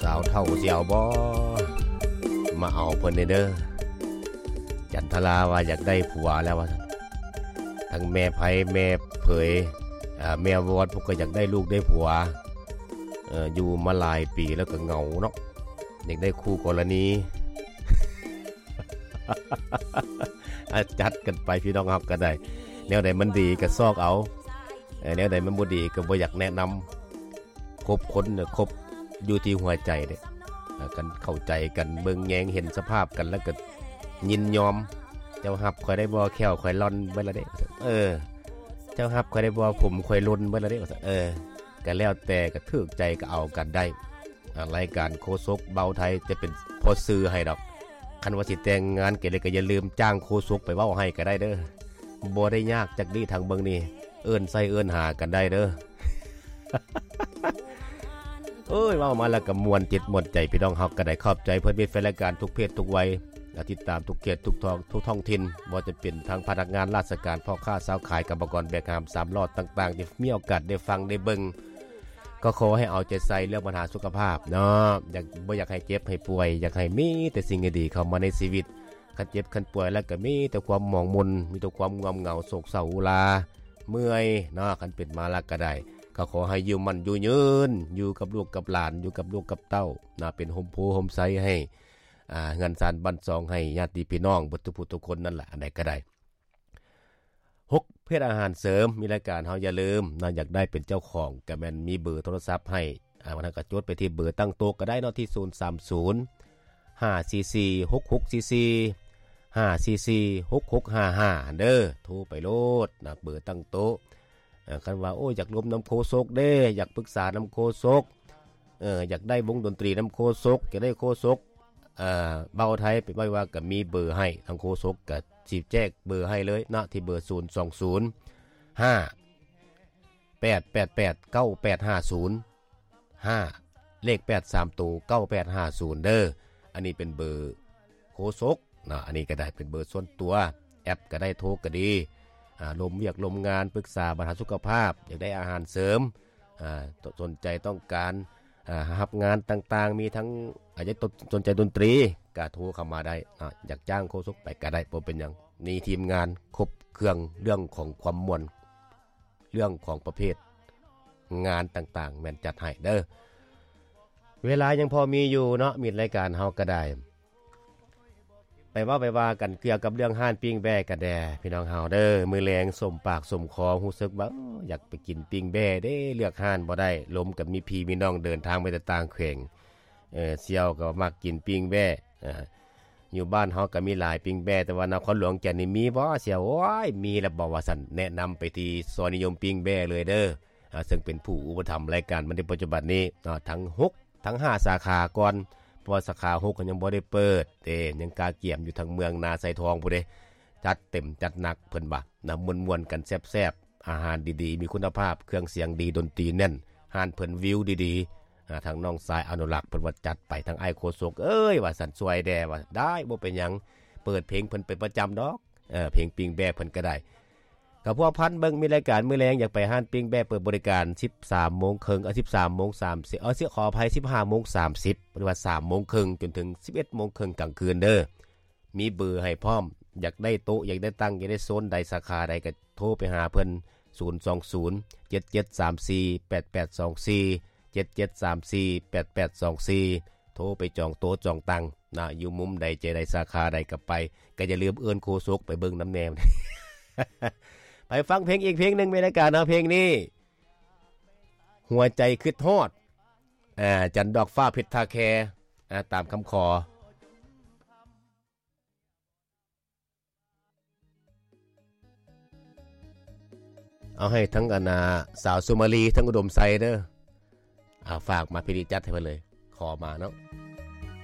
ສາວເຖົ້າຊິເອົາບໍ່? ມາເອົາເພິ່ນແດ່ເດີ. ຈັນທະລາວ່າຢາກໄດ້ຜົວແລ້ວວ່າຊັ້ນ. ທັງແມ່ໄພ ແມ່ເຜີຍ ເອີ ແມ່ວອດ ພວກກໍຢາກໄດ້ລູກໄດ້ຜົວ. ເອີ ຢູ່ມາຫຼາຍປີແລ້ວກໍເຫງົາເນາະ ຢາກໄດ້ຄູ່ກໍລະນີ. ອາ ຈັດກັນໄປ ພີ່ນ້ອງຮັກກໍໄດ້. ແນວໃດມັນດີກໍຊອກເອົາ ເອີ ແນວໃດມັນບໍ່ດີກໍບໍ່ຢາກແນະນຳ. ຄົບຄົນນະ ຄົບຢູ່ທີ່ຫົວໃຈເດ້. ເອີ ຄັນເຂົ້າໃຈກັນ ເບິ່ງແຍງເຫັນສະພາບກັນ ແລ້ວກໍຍິນຍອມ. ເຈົ້າຮັບຂ້ອຍໄດ້ບໍ່? ແຂ້ວຂ້ອຍລ່ອນເບິດແລ້ວເດ້. ເອີ ເຈົ້າຮັບຂ້ອຍໄດ້ບໍ່? ຜົມຂ້ອຍຫຼົ່ນເບິດແລ້ວເດ້. ເອີ ກໍແລ້ວແຕ່ ກໍຖືກໃຈກໍເອົາກັນໄດ້. ອາ ລາຍການໂຄສົກເບົາໄທຈະເປັນພໍ່ສື່ໃຫ້ດອກ. ຄັນວ່າຊິແຕ່ງງານກັນແລ້ວ ກໍຢ່າລືມຈ້າງໂຄສົກໄປເວົ້າໃຫ້ກໍໄດ້ເດີ. ບໍ່ໄດ້ຍາກຈັກດີ້ທາງເບິ່ງນີ້ ເອີ້ນໃສ່ເອີ້ນຫາກັນໄດ້ເດີ. ໂອ້ຍ ເວົ້າມາແລ້ວກໍມ່ວນຈິດມ່ວນໃຈ ພີ່ນ້ອງເຮົາກໍໄດ້. ຂອບໃຈເພື່ອນມິດແຟນລາຍການທຸກເພດທຸກໄວ ແລະ ຕິດຕາມທຸກເຂດທຸກທ້ອງ ທຸກທ້ອງຖິ່ນ, ບໍ່ວ່າຈະເປັນທາງພະນັກງານລາຊະການ, ພໍ່ຄ້າຊາວຂາຍ, ກຳມະກອນແບກຫາມສາມລໍ້ຕ່າງໆ ທີ່ມີໂອກາດໄດ້ຟັງໄດ້ເບິ່ງ. ກໍຂໍໃຫ້ເອົາໃຈໃສ່ເລື່ອງບັນຫາສຸຂະພາບເນາະ, ຢາກ ບໍ່ຢາກໃຫ້ເຈັບໃຫ້ປ່ວຍ, ຢາກໃຫ້ມີແຕ່ສິ່ງດີໆເຂົ້າມາໃນຊີວິດ. ຄັນເຈັບຄັນປ່ວຍແລ້ວກໍມີແຕ່ຄວາມໝອງໝຸ່ນ, ມີແຕ່ຄວາມງ່ວງເຫງົາ, ໂສກເສົ້າອຸລາ, ເມື່ອຍເນາະ. ຄັນເປັນມາແລ້ວກໍໄດ້, ກໍຂໍໃຫ້ຢູ່ໝັ້ນຢູ່ຍືນ, ຢູ່ກັບລູກກັບຫຼານ, ຢູ່ກັບລູກກັບເຕົ້າເນາະ, ເປັນຮົ່ມໂພຮົ່ມໄຊໃຫ້ ອ່າ ເຮືອນຊານບ້ານຊ່ອງ ໃຫ້ຍາດຕິພີ່ນ້ອງເບິດທຸກຜູ້ທຸກຄົນນັ້ນລະ, ອັນໃດກໍໄດ້. ຫົກ ເພດອາຫານເສີມ ມີລາຍການເຮົາ ຢ່າລືມເນາະ, ຢາກໄດ້ເປັນເຈົ້າຂອງ ກໍແມ່ນມີເບີໂທລະສັບໃຫ້. ອ່າ ວັນນັ້ນກໍຈົດໄປທີ່ເບີຕັ້ງໂຕະກໍໄດ້ເນາະ, ທີ່ ສູນສາມສູນ ຫ້າສີ່ສີ່ ຫົກຫົກສີ່ສີ່ ຫ້າສີ່ສີ່ ຫົກຫົກຫ້າຫ້າ ຫັ້ນເດີ, ໂທໄປໂລດນະ ເບີຕັ້ງໂຕະ. ເອີ ຄັນວ່າ ໂອ້ຍ ຢາກລົມນຳໂຄສົກເດ້, ຢາກປຶກສານຳໂຄສົກ, ເອີ ຢາກໄດ້ວົງດົນຕີນຳໂຄສົກ, ຢາກໄດ້ໂຄສົກ ເອີ ເບົາໄທ ໄປໄວ້ວ່າກໍມີເບີໃຫ້, ທາງໂຄສົກກໍຊິແຈ້ງເບີໃຫ້ເລີຍເນາະ, ທີ່ເບີ ສູນສອງສູນ ຫ້າແປດແປດແປດ ເກົ້າແປດຫ້າສູນ ຫ້າ ເລກແປດສາມໂຕ ເກົ້າແປດຫ້າສູນເດີ. ອັນນີ້ເປັນເບີໂຄສົກເນາະ, ອັນນີ້ກໍໄດ້ເປັນເບີສ່ວນຕົວ, ແອັບກໍໄດ້ ໂທກໍດີ. ອ່າ ລົມວຽກລົມງານ, ປຶກສາບັນຫາສຸຂະພາບ, ຢາກໄດ້ອາຫານເສີມ, ອ່າ ສົນໃຈຕ້ອງການ ອ່າ ຮັບງານຕ່າງໆ, ມີທັງ ອາ ຢາກສົນໃຈດົນຕີ ກໍໂທເຂົ້າມາໄດ້ເນາະ, ຢາກຈ້າງໂຄສົກໄປກໍໄດ້ ບໍ່ເປັນຫຍັງ. ມີທີມງານຄົບເຄື່ອງເລື່ອງຂອງຄວາມມ່ວນ, ເລື່ອງຂອງປະເພດງານຕ່າງໆ ແມ່ນຈັດໃຫ້ເດີ. ເວລາຍັງພໍມີຢູ່ເນາະ, ມິດລາຍການເຮົາກໍໄດ້ ໄປເວົ້າໄປວ່າກັນກ່ຽວກັບເລື່ອງຮ້ານປີ້ງແບ້ກັນແດ່ ພີ່ນ້ອງເຮົາເດີ. ມື້ແລງສົມປາກສົມຄໍ ຮູ້ສຶກວ່າ ເອີ ຢາກໄປກິນປີ້ງແບ້ເດ້, ເລືອກຮ້ານບໍ່ໄດ້. ລົມກັບມີພີ່ມີນ້ອງເດີນທາງມາແຕ່ຕ່າງແຂວງ, ເອີ ສ່ຽວກໍມັກກິນປີ້ງແບ້. ເອີ ຢູ່ບ້ານເຮົາກໍມີຫຼາຍປີ້ງແບ້, ແຕ່ວ່ານະຄອນຫຼວງວຽງຈັນນີ້ມີບໍ່ສ່ຽວ? ໂອ້ຍ ມີແລ້ວບໍ່ວ່າຊັ້ນ, ແນະນຳໄປທີ່ຊອຍນິຍົມປີ້ງແບ້ເລີຍເດີ. ອ່າ ເຊິ່ງເປັນຜູ້ອຸປະຖຳລາຍການມາໃນປັດຈຸບັນນີ້ເນາະ, ທັງຫົກ ທັງຫ້າສາຂາກ່ອນ, ເພາະວ່າສາຂາຫົກກໍຍັງບໍ່ໄດ້ເປີດເດ້, ຍັງກະກຽມຢູ່ທາງເມືອງນາໄຊທອງພຸ້ນເດ້. ຈັດເຕັມຈັດໜັກເພິ່ນວ່ານະ, ມ່ວນໆກັນແຊບໆ, ອາຫານດີໆ ມີຄຸນນະພາບ, ເຄື່ອງສຽງດີ, ດົນຕີແໜ້ນ, ຮ້ານເພິ່ນວິວດີໆ. ອ່າ ທາງນ້ອງຊາຍອະນຸລັກເພິ່ນວ່າຈັດໄປ, ທາງອ້າຍໂຄສົກເອີຍ ວ່າຊັ້ນ, ຊ່ວຍແດ່ວ່າ. ໄດ້ ບໍ່ເປັນຫຍັງ, ເປີດເພງເພິ່ນເປັນປະຈຳດອກ, ເອີ ເພງປີ້ງແບ້ເພິ່ນກໍໄດ້. ກໍພົວພັນເບິ່ງ ມີລາຍການມື້ແລງ ຢາກໄປຮ້ານປີ້ງແບ້ ເປີດບໍລິການສິບສາມໂມງເຄິ່ງ ເອີ ສິບສາມໂມງສາມສິບ ເອີ ຂໍອະໄພ ສິບຫ້າໂມງສາມສິບ ຫຼືວ່າສາມໂມງເຄິ່ງ ຈົນເຖິງສິບເອັດໂມງເຄິ່ງກາງຄືນເດີ. ມີເບີໃຫ້ພ້ອມ, ຢາກໄດ້ໂຕະ ຢາກໄດ້ຕັ່ງ ຢາກໄດ້ໂຊນໃດ ສາຂາໃດ ກໍໂທໄປຫາເພິ່ນ ສູນສອງສູນ ເຈັດເຈັດສາມສີ່ ແປດແປດສອງສີ່ ເຈັດເຈັດສາມສີ່ ແປດແປດສອງສີ່ ໂທໄປຈອງໂຕະຈອງຕັ່ງນະ, ຢູ່ມຸມໃດໃຈໃດ ສາຂາໃດກໍໄປ. ກໍຢ່າລືມເອີ້ນໂຄສົກໄປເບິ່ງນຳແດ່. ໄປຟັງເພງອີກເພງໜຶ່ງ ໃນລາຍການເຮົາ, ເພງນີ້ ຫົວໃຈຄິດຮອດ ອາ ຈັນດອກຟ້າເພັດທ່າແຄ ອາ ຕາມຄຳຂໍ. ເອົາໃຫ້ທັງອັນນ່າ ສາວສຸມາລີ ທັງອຸດົມໄຊເດີ. ອາ ຝາກມາ ພີ່ດີຈັດໃຫ້ເພິ່ນເລີຍ, ຂໍມາເນາະ.